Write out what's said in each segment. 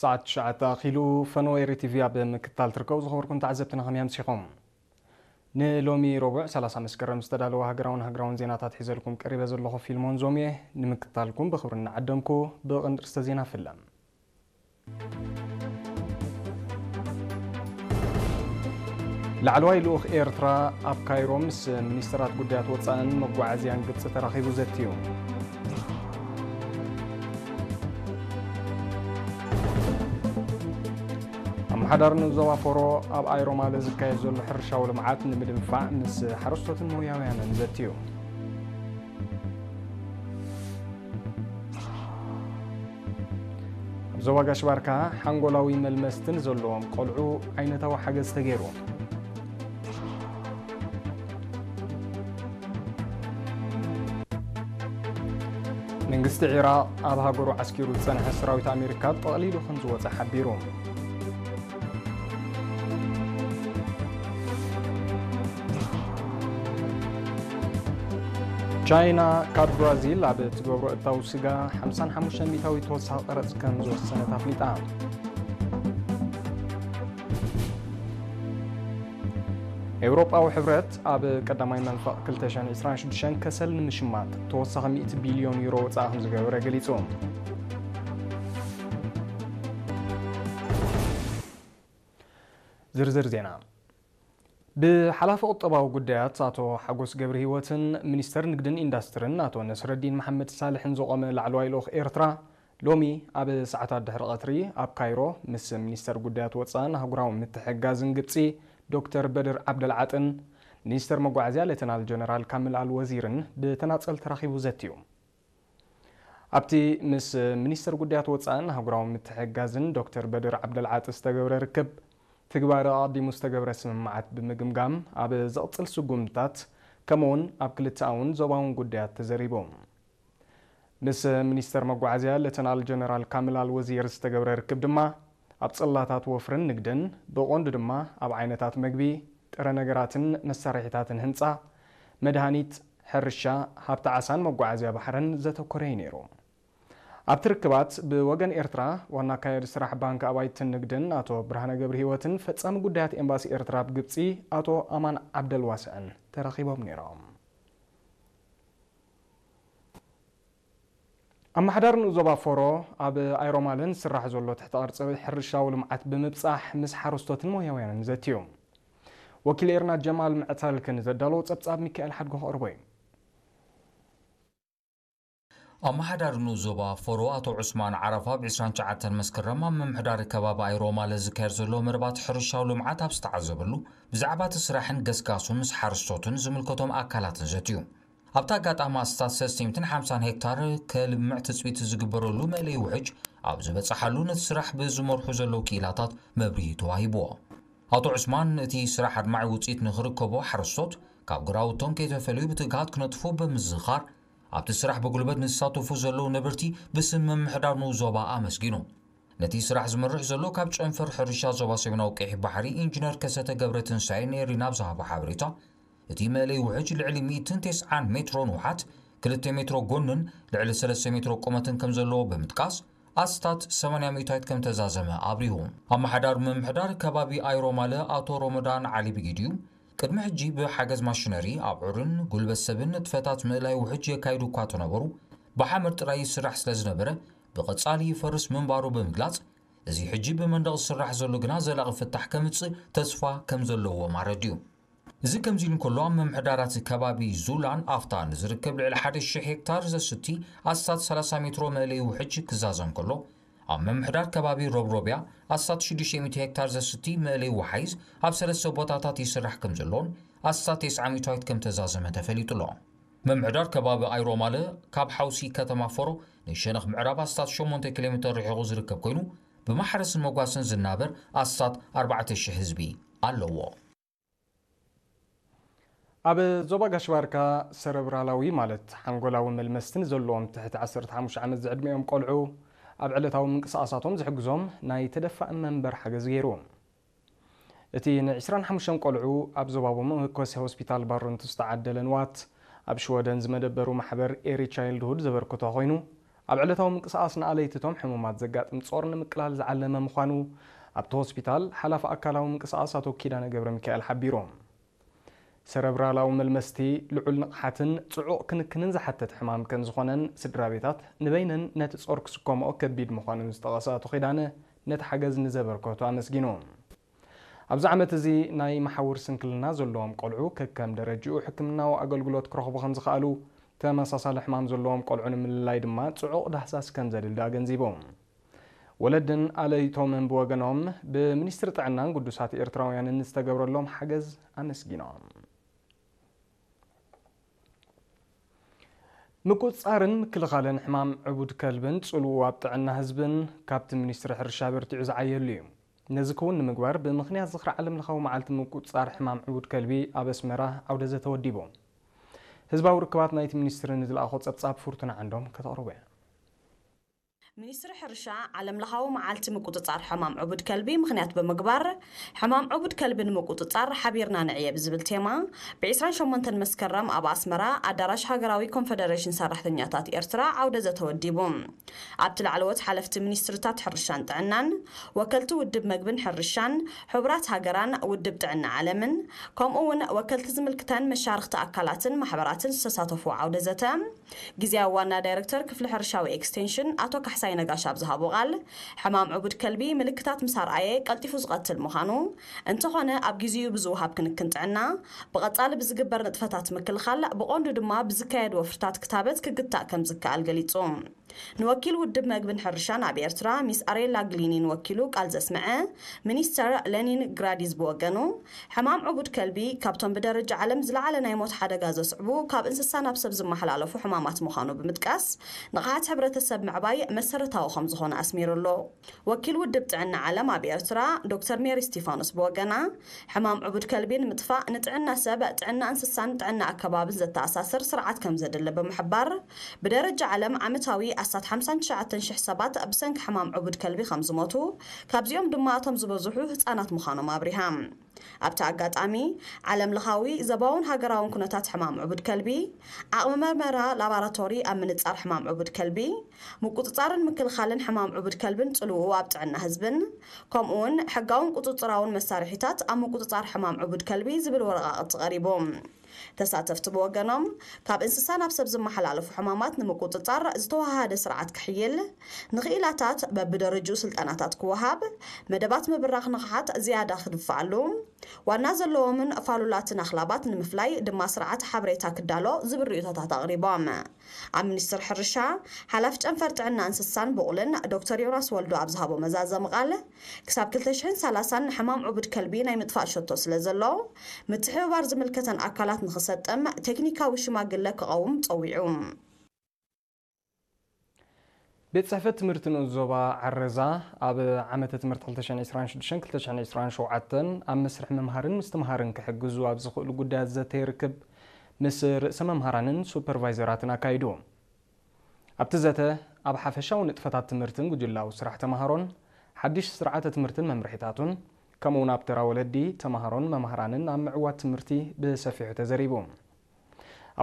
ሰዓት ትሽዓተ ኣኺሉ። ፈነወ ኤሪ ቲቪ ኣብ ምክትታል ትርከቡ ዝኸበርኩም ተዓዘብትና ከመይ ኣምሲኹም? ንሎሚ ረቡዕ ሰላሳ መስከረም ዝተዳለወ ሃገራውን ሃገራውን ዜናታት ሒዘልኩም ቀሪበ ዘለኹ ፊልሞን ዞም እየ። ንምክትታልኩም ብኽብሪ እናዓደምኩ ብቐንዲ ርእስተ ዜና ፍለም። ላዕለዋይ ልኡኽ ኤርትራ ኣብ ካይሮ ምስ ሚኒስተራት ጉዳያት ወጻእን መጓዓዝያን ግብጺ ተራኺቡ ዘትዩ። ኣመሓዳሪ ንዞባ ፎሮ ኣብ ኣይሮማለ ዝካየድ ዘሎ ሕርሻዊ ልምዓት ንምድንፋዕ ምስ ሓረስቶትን ሞያውያንን ዘትዩ። ኣብ ዞባ ጋሽ ባርካ ሓንጎላዊ መልመስቲ ንዘለዎም ቆልዑ ዓይነታዊ ሓገዝ ተገይሩ። መንግስቲ ዒራቕ ኣብ ሃገሩ ዓስኪሩ ዝጸንሐ ሰራዊት ኣሜሪካ ጠቕሊሉ ከም ዝወጸ ሓቢሩ። ቻይና ካብ ብራዚል ኣብ እትገብሮ እታው ስጋ ሓምሳን ሓሙሽተ ሚእታዊት ተወሳኺ ቀረጽ ከም ዝወሰነት ኣፍሊጣ። ኤውሮጳዊ ሕብረት ኣብ ቀዳማይ መንፈቕ ክልተ ሽሕን ዕስራን ሽዱሽተን ከሰል ንምሽማጥ ተወሳኺ ሚእቲ ቢልዮን ዩሮ ወጻኢ ከም ዝገበረ ገሊጹ። ዝርዝር ዜና። ብሓላፊ ቁጠባዊ ጉዳያት ኣቶ ሓጎስ ገብረ ህይወትን ሚኒስተር ንግድን ኢንዳስትርን ኣቶ ነስረዲን መሓመድ ሳልሕን ዝቖመ ላዕለዋይ ልኡኽ ኤርትራ ሎሚ ኣብ ሰዓታት ድሕሪ ቀትሪ ኣብ ካይሮ ምስ ሚኒስተር ጉዳያት ወጻእን ኣህጉራዊ ምትሕግጋዝን ግብጺ ዶክተር በድር ዓብደልዓጥን ሚኒስተር መጓዓዝያ ሌተናል ጀነራል ካምል ኣል ወዚርን ብተናጸል ተራኺቡ ዘትዩ። ኣብቲ ምስ ሚኒስተር ጉዳያት ወጻእን ኣህጉራዊ ምትሕግጋዝን ዶክተር በድር ዓብደልዓጢ ዝተገብረ ርክብ፣ ትግባረ ኣቐዲሙ ዝተገብረ ስምምዓት ብምግምጋም፣ ኣብ ዝቕጽል ስጉምትታት፣ ከምኡውን ኣብ ክልተኣውን ዞባውን ጉዳያት ተዘሪቡ። ምስ ሚኒስተር መጓዓዝያ ሌተናል ጀነራል ካምል ኣል ወዚር ዝተገብረ ርክብ ድማ፣ ኣብ ጽላታት ወፍርን ንግድን፣ ብቐንዱ ድማ ኣብ ዓይነታት መግቢ፣ ጥረ ነገራትን መሳርሒታትን ህንጻ፣ መድሃኒት፣ ሕርሻ፣ ሃብቲ ዓሳን መጓዓዝያ ባሕርን ዘተኮረ እዩ ነይሩ። ኣብቲ ርክባት ብወገን ኤርትራ ዋና ኣካያዲ ስራሕ ባንክ ኣባይትን ንግድን ኣቶ ብርሃነ ገብረህይወትን ፈጻሚ ጉዳያት ኤምባሲ ኤርትራ ኣብ ግብጺ ኣቶ ኣማን ዓብደልዋስዕን ተራኺቦም ነይሮም። ኣመሓዳሪ ንኡስ ዞባ ፎሮ ኣብ ኣይሮማልን ዝስራሕ ዘሎ ትሕተ ቅርጺ ሕርሻዊ ልምዓት ብምብጻሕ ምስ ሓረስቶትን ሞያውያንን ዘትዩ። ወኪል ኤርና ጀማል ምዕታልክ ንዘዳለዎ ጸብጻብ ሚካኤል ሓድጎ ከቕርቦ እዩ። ኣመሓዳሪ ንኡስ ዞባ ፎሮ ኣቶ ዑስማን ዓረፋ ብ ዕስራን ትሽዓተን መስከረም ኣብ ምምሕዳር ከባቢ ኣይሮማለ ዝካየድ ዘሎ መደባት ሕርሻዊ ልምዓት ኣብ ዝተዓዘበሉ፣ ብዛዕባ እቲ ስራሕን ገስጋሱን ምስ ሓረስቶትን ዝምልከቶም ኣካላትን ዘትዩ። ኣብቲ ኣጋጣሚ ኣስታት ሰለስተ ሚእትን ሓምሳን ሄክታር ከልምዕ ትጽቢት ዝግበረሉ መእለዪ ውሕጅ ኣብ ዝበጽሓሉ፣ ነቲ ስራሕ ብዝመርሑ ዘለዉ ክኢላታት መብርሂ ተዋሂብዎ። ኣቶ ዑስማን፣ እቲ ስራሕ ኣድማዒ ውጽኢት ንኽርከቦ፣ ሓረስቶት ካብ ግራውቶም ከይተፈልዩ ብትግሃት ክነጥፉ ብምዝኻር፣ ኣብቲ ስራሕ ብጉልበት ንዝሳተፉ ዘለዉ ነበርቲ ብስም ምምሕዳር ንኡስ ዞባ ኣመስጊኑ። ነቲ ስራሕ ዝመርሕ ዘሎ ካብ ጨንፈር ሕርሻ ዞባ ሰሜናዊ ቀይሕ ባሕሪ ኢንጂነር ከሰተ ገብረትንሳኤ ንኤሪና ኣብ ዝሃቦ ሓበሬታ፣ እቲ መእለይ ውሕጅ ልዕሊ ሚእትን ተስዓን ሜትሮ ንውሓት፣ ክልተ ሜትሮ ጎንን ልዕሊ ሰለስተ ሜትሮ ቁመትን ከም ዘለዎ ብምጥቃስ፣ ኣስታት ሰማንያ ሚእታዊት ከም ተዛዘመ ኣብሪሁ። ኣመሓዳሪ ምምሕዳር ከባቢ ኣይሮማለ ኣቶ ሮመዳን ዓሊ ብጊድዩ፣ ቅድሚ ሕጂ ብሓገዝ ማሽነሪ ኣብዑርን ጉልበት ሰብን ንጥፈታት ምእላይ ውሕጅ የካይዱ እኳ ተነበሩ፣ ብሓመድ ጥራይ ይስራሕ ስለ ዝነበረ፣ ብቐጻሊ ይፈርስ ምንባሩ ብምግላጽ፣ እዚ ሕጂ ብመንደቕ ዝስራሕ ዘሎ ግና ዘላቒ ፍታሕ ከምጽእ ተስፋ ከም ዘለዎም ኣረድዩ። እዚ ከምዚ ኢሉ እንከሎ፣ ኣብ ምምሕዳራት ከባቢ ዙላን ኣፍታን ዝርከብ ልዕሊ ሓደ ሺሕ ሄክታር ዘስቲ ኣስታት ሰላሳ ሜትሮ መእለዪ ውሕጅ ክዛዘም ከሎ፣ ኣብ ምምሕዳር ከባቢ ሮብሮብያ ኣስታት ሽዱሽተ ሚእቲ ሄክታር ዘስቲ መእለዪ ወሓይዝ ኣብ ሰለስተ ቦታታት ይስራሕ ከም ዘሎን ኣስታት ተስዓ ሚእታዊት ከም ተዛዘመ ተፈሊጡ ኣሎ። ምምሕዳር ከባቢ ኣይሮማለ ካብ ሓውሲ ከተማ ፎሮ ንሸነኽ ምዕራብ ኣስታት ሸሞንተ ኪሎ ሜትር ርሒቑ ዝርከብ ኮይኑ፣ ብማሕረስን መጓሰን ዝናበር ኣስታት ኣርባዕተ ሽሕ ህዝቢ ኣለዎ። ኣብ ዞባ ጋሽ ባርካ ሰረብራላዊ ማለት ሓንጎላዊ መልመስቲ ንዘለዎም ትሕቲ ዓሰርተ ሓሙሽተ ዓመት ዝዕድሚኦም ቆልዑ ኣብ ዕለታዊ ምንቅስቓሳቶም ዝሕግዞም ናይ ተደፋኢ መንበር ሓገዝ ገይሩ። እቲ ን ዕስራን ሓሙሽተን ቆልዑ ኣብ ዞባዊ መመኮሲ ሆስፒታል ባሮንቱ ዝተዓደለ ንዋት፣ ኣብ ሽወደን ዝመደበሩ ማሕበር ኤሪ ቻይልድሁድ ዘበርክቶ ኮይኑ፣ ኣብ ዕለታዊ ምንቅስቓስ ንኣለይትቶም ሕሙማት ዘጋጥም ጾር ንምቅላል ዝዓለመ ምዃኑ ኣብቲ ሆስፒታል ሓላፊ ኣካላዊ ምንቅስቓስ ኣቶ ኪዳነ ገብረ ሚካኤል ሓቢሩ። ሰረብራላዊ መልመስቲ ልዑል ንቕሓትን ጽዑቕ ክንክንን ዝሓተት ሕማም ከም ዝኾነን ስድራ ቤታት ንበይነን ነቲ ጾር ክስከምኦ ከቢድ ምዃኑን ዝጠቐሰ ኣቶ ኪዳነ ነቲ ሓገዝ ንዘበርከቱ ኣመስጊኑ። ኣብዚ ዓመት እዚ ናይ መሓውር ስንክልና ዘለዎም ቆልዑ ከከም ደረጅኡ ሕክምናዊ ኣገልግሎት ክረኽቡ ከም ዝኸኣሉ፣ ተመሳሳሊ ሕማም ዘለዎም ቆልዑ ንምልላይ ድማ ጽዑቕ ዳህሳስ ከም ዘድሊ ኣገንዚቡ። ወለድን ኣለይቶምን ብወገኖም ብሚኒስትሪ ጥዕናን ግዱሳት ኤርትራውያንን ዝተገብረሎም ሓገዝ ኣመስጊኖም። ምቁጽጻርን ምክልኻልን ሕማም ዕቡድ ከልብን ጽልኡ ኣብ ጥዕና ህዝብን ካብቲ ሚኒስትሪ ሕርሻ በርቲዑ ዝዓየሉ እዩ። ነዚ ክውን ንምግባር ብምኽንያት ዝኽሪ ዓለም ለኻዊ መዓልቲ ምቁጽጻር ሕማም ዕቡድ ከልቢ ኣብ ኣስመራ ዓውደ ዘተ ወዲቡ። ህዝባዊ ርክባት ናይቲ ሚኒስትሪ ንዝለኣኾ ጸብጻብ ፍርቱና ዓንዶም ከተቕርቦ እያ። ሚኒስትሪ ሕርሻ ዓለም ለኻዊ መዓልቲ ምቁጽጻር ሕማም ዕቡድ ከልቢ ምኽንያት ብምግባር ሕማም ዕቡድ ከልቢ ንምቁጽጻር ሓቢርና ንዕየ ብዝብል ቴማ ብ28 መስከረም ኣብ ኣስመራ ኣዳራሽ ሃገራዊ ኮንፈደሬሽን ሰራሕተኛታት ኤርትራ ዓውደ ዘተ ወዲቡ። ኣብቲ ላዕለዎት ሓለፍቲ ሚኒስትርታት ሕርሻን ጥዕናን፣ ወከልቲ ውድብ መግብን ሕርሻን፣ ሕቡራት ሃገራን ውድብ ጥዕና ዓለምን፣ ከምኡ እውን ወከልቲ ዝምልክተን መሻርኽቲ ኣካላትን ማሕበራትን ዝተሳተፉ ዓውደ ዘተ፣ ግዜያዊ ዋና ዳይረክተር ክፍሊ ሕርሻዊ ኤክስቴንሽን ኣቶ ካሕሳይ ነጋሽ ኣብ ዝሃቦ ቃል፣ ሕማም ዕቡድ ከልቢ ምልክታት ምስ ኣርኣየ ቀልጢፉ ዝቐትል ምዃኑ፣ እንተኾነ ኣብ ግዜኡ ብዝወሃብ ክንክን ጥዕና፣ ብቐጻሊ ብዝግበር ንጥፈታት ምክልኻል፣ ብቐንዱ ድማ ብዝካየድ ወፍርታት ክታበት ክግታእ ከም ዝከኣል ገሊጹ። ንወኪል ውድብ መግብን ሕርሻን ኣብ ኤርትራ ሚስ ኣሬላ ግሊኒን ወኪሉ ቃል ዘስምዐ ሚኒስተር ለኒን ግራዲዝ ብወገኑ፣ ሕማም ዕቡድ ከልቢ ካብቶም ብደረጃ ዓለም ዝለዓለ ናይ ሞት ሓደጋ ዘስዕቡ ካብ እንስሳ ናብ ሰብ ዝመሓላለፉ ሕማማት ምዃኑ ብምጥቃስ፣ ንቕሓት ሕብረተሰብ ምዕባይ መሰረታዊ ከም ዝኾነ ኣስሚሩ ኣሎ። ወኪል ውድብ ጥዕና ዓለም ኣብ ኤርትራ ዶክተር ሜሪ ስቲፋኖስ ብወገና፣ ሕማም ዕቡድ ከልቢ ንምጥፋእ ንጥዕና ሰብ፣ ጥዕና እንስሳን ጥዕና ኣከባብን ዘተኣሳስር ስርዓት ከም ዘድሊ ብምሕባር፣ ብደረጃ ዓለም ዓመታዊ ኣስታት ሓምሳን ትሽዓተን ሽሕ ሰባት ብሰንኪ ሕማም ዕቡድ ከልቢ ከም ዝሞቱ፣ ካብዚኦም ድማ እቶም ዝበዝሑ ህጻናት ምዃኖም ኣብሪሃ። ኣብቲ ኣጋጣሚ፣ ዓለም ለኻዊ ዘባውን ሃገራውን ኩነታት ሕማም ዕቡድ ከልቢ፣ ዓቕሚ መርመራ ላቦራቶሪ ኣብ ምንጻር ሕማም ዕቡድ ከልቢ፣ ምቁጽጻርን ምክልኻልን ሕማም ዕቡድ ከልብን ጽልውኡ ኣብ ጥዕና ህዝብን፣ ከምኡውን ሕጋውን ቁጽጽራውን መሳርሒታት ኣብ ምቁጽጻር ሕማም ዕቡድ ከልቢ ዝብል ወረቓቕቲ ቀሪቡ። ተሳተፍቲ ብወገኖም፣ ካብ እንስሳ ናብ ሰብ ዝመሓላለፉ ሕማማት ንምቁጽጻር ዝተወሃሃደ ስርዓት ክሕይል፣ ንኽኢላታት በብደረጅኡ ስልጠናታት ክወሃብ፣ መደባት ምብራኽ ንቕሓት ዝያዳ ክድፋኣሉ፣ ዋና ዘለዎምን ፋሉላትን ኣኽላባት ንምፍላይ ድማ ስርዓት ሓበሬታ ክዳሎ ዝብል ርእይቶታት ኣቕሪቦም። ኣብ ሚኒስትሪ ሕርሻ፣ ሓላፊ ጨንፈር ጥዕና እንስሳን ብቑልን ዶክተር ዮናስ ወልዱ ኣብ ዝሃቦ መዛዘሚ ቃል፣ ክሳብ ክልተ ሽሕን ሰላሳን ሕማም ዕቡድ ከልቢ ናይ ምጥፋእ ሸቶ ስለ ዘሎ፣ ምትሕብባር ዝምልከተን ኣካላት ንኽሰጥም ቴክኒካዊ ሽማግለ ክቐውም ጸዊዑ። ቤት ጽሕፈት ትምህርቲ ንኡስ ዞባ ዓረዛ ኣብ ዓመተ ትምህርቲ ክልተ ሽሕን ዕስራን ሽዱሽተን ክልተ ሽሕን ዕስራን ሸውዓተን ኣብ መስርሕ ምምሃርን ምስትምሃርን ክሕግዙ ኣብ ዝኽእሉ ጉዳያት ዘተ ይርክብ ምስ ርእሰ መምሃራንን ሱፐርቫይዘራትን ኣካይዱ። ኣብቲ ዘተ፣ ኣብ ሓፈሻዊ ንጥፈታት ትምህርትን ጉጅላዊ ስራሕ ተማሃሮን፣ ሓድሽ ስርዓተ ትምህርትን መምርሒታቱን፣ ከምኡውን ኣብ ተራ ወለዲ፣ ተማሃሮን መምሃራንን ኣብ ምዕዋት ትምህርቲ ብሰፊሑ ተዘሪቡ።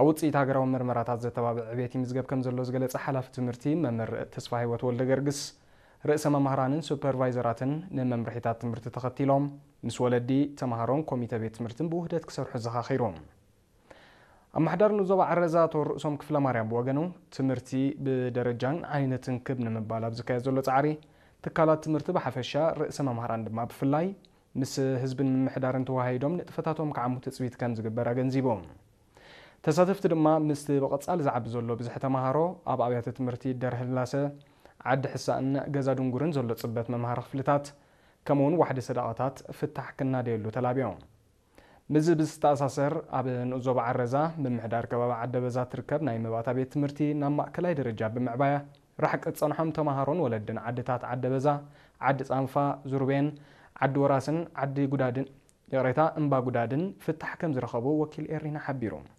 ኣብ ውጽኢት ሃገራዊ መርመራታት ዘተባብዕ ዕቤት ይምዝገብ ከም ዘሎ ዝገለጸ ሓላፊ ትምህርቲ መምህር ተስፋ ህይወት ወልደ ገርግስ፣ ርእሰ መምሃራንን ሱፐርቫይዘራትን ንመምርሒታት ትምህርቲ ተኸቲሎም ምስ ወለዲ፣ ተማሃሮን ኮሚተ ቤት ትምህርትን ብውህደት ክሰርሑ ዘኻኺሩ። ኣመሓዳሪ ንዞባ ዓረዛ ኣቶ ርእሶም ክፍለ ማርያም ብወገኑ፣ ትምህርቲ ብደረጃን ዓይነትን ክብ ንምባል ኣብ ዝካየድ ዘሎ ጻዕሪ፣ ትካላት ትምህርቲ ብሓፈሻ፣ ርእሰ መምሃራን ድማ ብፍላይ፣ ምስ ህዝብን ምምሕዳርን ተወሃሂዶም ንጥፈታቶም ክዓሙ ትጽቢት ከም ዝግበር ኣገንዚቡ። ተሳተፍቲ ድማ ምስቲ ብቐጻሊ ዝዓቢ ዘሎ ብዝሒ ተማሃሮ ኣብ ኣብያተ ትምህርቲ ደርህላሰ፣ ዓዲ ሕሳእን ገዛ ድንጉርን ዘሎ ጽበት መምሃሪ ክፍልታት፣ ከምኡውን ዋሕዲ ሰደቓታት ፍታሕ ክናደየሉ ተላብዮም። ምስዚ ብዝተኣሳሰር፣ ኣብ ንኡስ ዞባ ዓረዛ ምምሕዳር ከባቢ ዓደበዛ ትርከብ ናይ መባእታ ቤት ትምህርቲ ናብ ማእከላይ ደረጃ ብምዕባያ፣ ራሕቂ ዝጸንሖም ተማሃሮን ወለድን ዓድታት ዓደበዛ፣ ዓዲ ጻንፋ፣ ዙርቤን፣ ዓዲ ወራስን ዓዲ ጉዳድን፣ ይቕሬታ፣ እምባ ጉዳድን ፍታሕ ከም ዝረኸቡ ወኪል ኤሪና ሓቢሩ።